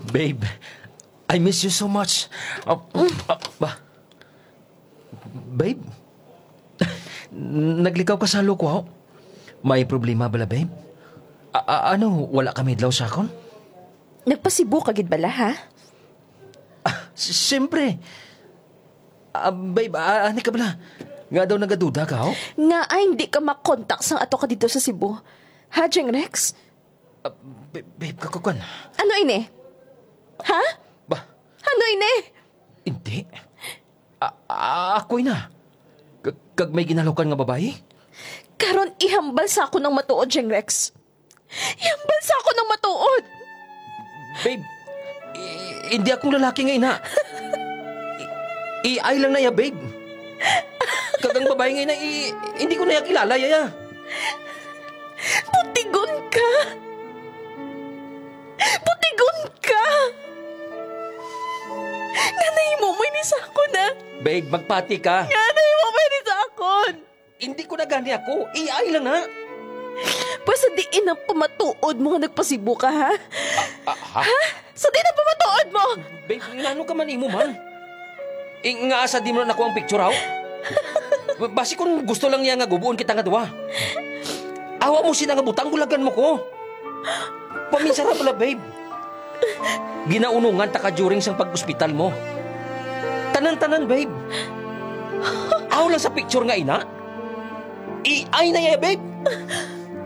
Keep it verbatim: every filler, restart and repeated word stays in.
Babe, I miss you so much. Ah, ah, ba? Babe? Naglikaw ka sa halo ko, ha? May problema bala, babe? A-, a-, ano, wala ka mahidlaw sa akon? Nagpa-Cebu ka gid bala, ha? Ah, s- siyempre. Ah, babe, ah, ani ka bala? Nga daw nagaduda ka, ho? Nga ay hindi ka makontak sang ato ka dito sa Cebu. Ha, Jeng Rex? Ah, babe, babe, kakukwan. Ano ini? Ha? Ba? Ano ini? Hindi. Ah, ah, ako'y na. K- kag may ginalukan nga babae? Karon ihambal sa ako ng matuod, Jeng Rex. Ihambal sa ako ng matuod. Babe, i- hindi akong lalaki nga ina. I- AI lang na iya, babe. Kag ang babae nga ina, i- hindi ko na iya kilala, yaya. Putigon ka. Putigon ka. Nga nahimo mo ini sa akon, ha? Babe, magpati ka. Nga nahimo mo ini sa akon. Hindi ko na gani ako. AI lang na. Basta diin ang pamatuod mo nga nagpa-Cebu ka, ha? Ah, ha? Sa diin ang pamatuod mo? Babe, ngano ka man imo man? Eh, nga asa di mo na nakuha ang picture, aw? Basi kung gusto lang niya nga gubuon kita nga duha. Awa mo sina nga butang, bulagan mo ko. Paminsara pala, babe. Ginaunungan ta ka during sang pag-ospital mo. Tanan-tanan, babe. Aw lang sa picture nga ina. AI na iya, babe.